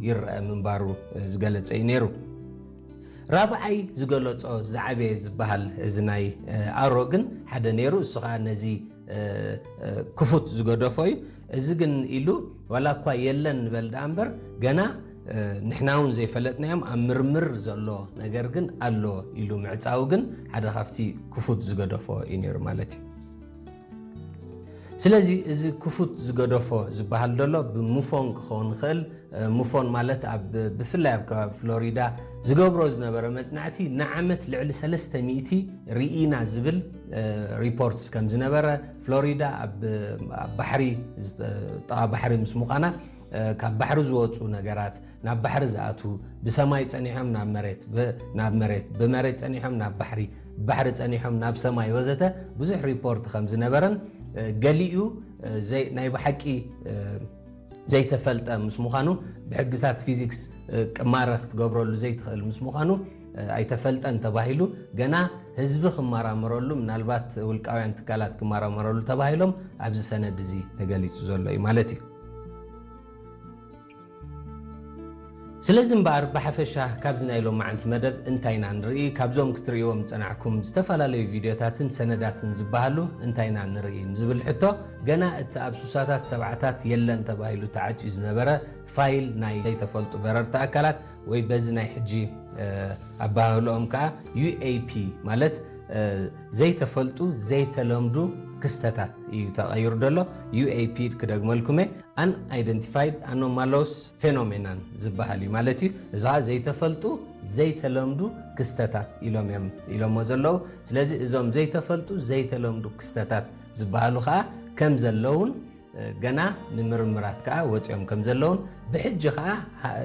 ይረአ ምንባሩ ዝገለጸ እዩ ነይሩ። ራብዓይ ዝገለጾ ዝዓበየ ዝበሃል እዚ ናይ ኣሮ ግን ሓደ ነይሩ። እሱ ኸዓ ነዚ ክፉት ዝገደፎ እዩ። እዚ ግን ኢሉ ዋላ እኳ የለን ንበል ደኣ እምበር ገና ንሕና እውን ዘይፈለጥናዮም ኣብ ምርምር ዘሎ ነገር ግን ኣሎ ኢሉ ምዕጻው ግን ሓደ ካብቲ ክፉት ዝገደፎ እዩ ነይሩ ማለት እዩ። ስለዚ እዚ ክፉት ዝገደፎ ዝበሃል ዘሎ ብሙፎን ክኸውን ይኽእል። ሙፎን ማለት ኣብ ብፍላይ ኣብ ከባቢ ፍሎሪዳ ዝገብሮ ዝነበረ መጽናዕቲ ንዓመት ልዕሊ ሰለስተ ሚእቲ ርኢና ዝብል ሪፖርትስ ከም ዝነበረ፣ ፍሎሪዳ ኣብ ኣብ ባሕሪ ጥቓ ባሕሪ ምስ ምዃና ካብ ባሕሪ ዝወፁ ነገራት ናብ ባሕሪ ዝኣትዉ፣ ብሰማይ ጸኒሖም ናብ መሬት ናብ መሬት ብመሬት ጸኒሖም ናብ ባሕሪ ባሕሪ ጸኒሖም ናብ ሰማይ ወዘተ ብዙሕ ሪፖርት ከም ዝነበረን ገሊኡ ናይ ብሓቂ ዘይተፈልጠ ምስ ምዃኑ ብሕግታት ፊዚክስ ቅማረ ክትገብረሉ ዘይትኽእል ምስ ምዃኑ ኣይተፈልጠን ተባሂሉ ገና ህዝቢ ክመራመረሉ ምናልባት ውልቃውያን ትካላት ክመራመረሉ ተባሂሎም ኣብዚ ሰነድ እዚ ተገሊጹ ዘሎ እዩ ማለት እዩ። ስለዚ እምበኣር ብሓፈሻ ካብዚ ናይ ሎማዓንቲ መደብ እንታይ ኢና ንርኢ፣ ካብዞም ክትርእይዎም ዝጸናዕኩም ዝተፈላለዩ ቪድዮታትን ሰነዳትን ዝበሃሉ እንታይ ኢና ንርኢ ንዝብል ሕቶ ገና እቲ ኣብ ሱሳታት ሰብዓታት የለን ተባሂሉ ተዓጽዩ ዝነበረ ፋይል ናይ ዘይተፈልጡ በረርቲ ኣካላት ወይ በዚ ናይ ሕጂ ኣባህልኦም ከዓ ዩ ኤ ፒ ማለት ዘይተፈልጡ ዘይተለምዱ ክስተታት እዩ ተቐይሩ ዘሎ። ዩ ኤ ፒ ክደግመልኩመ ኣን ኣይደንቲፋይድ ኣኖማሎስ ፌኖሜናን ዝበሃል እዩ ማለት እዩ። እዚ ከዓ ዘይተፈልጡ ዘይተለምዱ ክስተታት ኢሎም እዮም ኢሎሞ ዘለዉ። ስለዚ እዞም ዘይተፈልጡ ዘይተለምዱ ክስተታት ዝበሃሉ ከዓ ከም ዘለውን ገና ንምርምራት ከዓ ወፂኦም ከም ዘለውን ብሕጂ ከዓ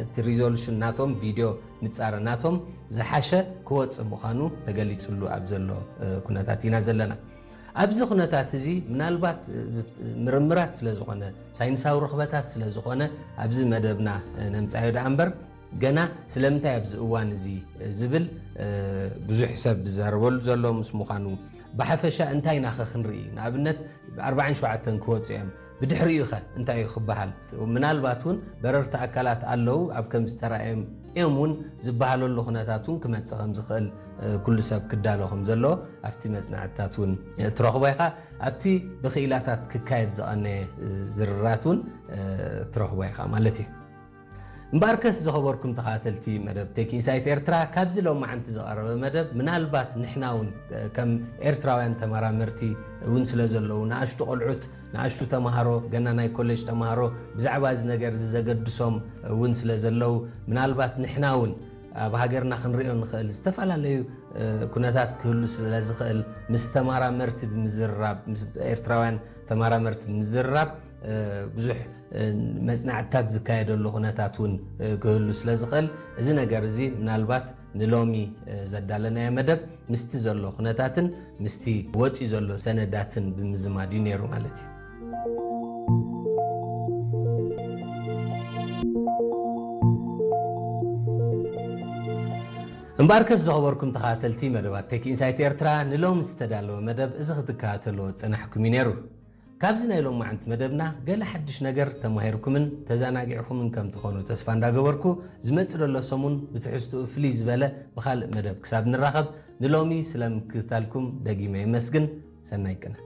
እቲ ሪዞሉሽን ናቶም ቪድዮ ምፃረ ናቶም ዝሓሸ ክወፅእ ምዃኑ ተገሊፅሉ ኣብ ዘሎ ኩነታት ኢና ዘለና። ኣብዚ ኩነታት እዚ ምናልባት ምርምራት ስለ ዝኾነ ሳይንሳዊ ርኽበታት ስለ ዝኾነ ኣብዚ መደብና ነምፃዮ ደኣ እምበር ገና ስለምንታይ ኣብዚ እዋን እዚ ዝብል ብዙሕ ሰብ ዝዛረበሉ ዘሎ ምስ ምዃኑ ብሓፈሻ እንታይ ኢና ኸ ክንርኢ ንኣብነት ኣርባዓን ሸውዓተን ክወፁ እዮም ብድሕሪኡ ኸ እንታይ እዩ ክበሃል ምናልባት እውን በረርቲ ኣካላት ኣለዉ ኣብ ከም ዝተራእዮም እዮም እውን ዝበሃለሉ ኩነታት እውን ክመፅእ ከም ዝኽእል ኩሉ ሰብ ክዳሎ ከም ዘለዎ ኣብቲ መፅናዕትታት እውን ትረኽቦ ኢኻ ኣብቲ ብክኢላታት ክካየድ ዝቐነየ ዝርራት እውን ትረኽቦ ኢኻ ማለት እዩ እምበኣርከስ ዝኸበርኩም ተኸታተልቲ መደብ ቴክ ኢንሳይት ኤርትራ ካብዚ ሎማዓንቲ ዝቐረበ መደብ ምናልባት ንሕና እውን ከም ኤርትራውያን ተመራመርቲ እውን ስለ ዘለዉ ንኣሽቱ ቆልዑት ንኣሽቱ ተምሃሮ ገና ናይ ኮሌጅ ተምሃሮ ብዛዕባ እዚ ነገር እዚ ዘገድሶም እውን ስለ ዘለዉ ምናልባት ንሕና እውን ኣብ ሃገርና ክንሪኦ ንኽእል ዝተፈላለዩ ኩነታት ክህሉ ስለ ዝኽእል ምስ ተመራመርቲ ብምዝርራብ ምስ ኤርትራውያን ተመራመርቲ ብምዝርራብ ብዙሕ መፅናዕትታት ዝካየደሉ ኩነታት እውን ክህሉ ስለ ዝኽእል እዚ ነገር እዚ ምናልባት ንሎሚ ዘዳለናዮ መደብ ምስቲ ዘሎ ኩነታትን ምስቲ ወፂኡ ዘሎ ሰነዳትን ብምዝማድ እዩ ነይሩ ማለት እዩ። እምበኣርከስ ዝኸበርኩም ተኸታተልቲ መደባት ቴክ ኢንሳይት ኤርትራ ንሎሚ ዝተዳለወ መደብ እዚ ክትከታተልዎ ዝጸናሕኩም እዩ ነይሩ። ካብዚ ናይ ሎማዓንቲ መደብና ገለ ሓድሽ ነገር ተማሂርኩምን ተዘናጊዕኩምን ከም ትኾኑ ተስፋ እንዳገበርኩ ዝመጽእ ዘሎ ሰሙን ብትሕዝትኡ ፍልይ ዝበለ ብኻልእ መደብ ክሳብ ንራኸብ ንሎሚ ስለ ምክትታልኩም ደጊመ የመስግን። ሰናይ ቅነ።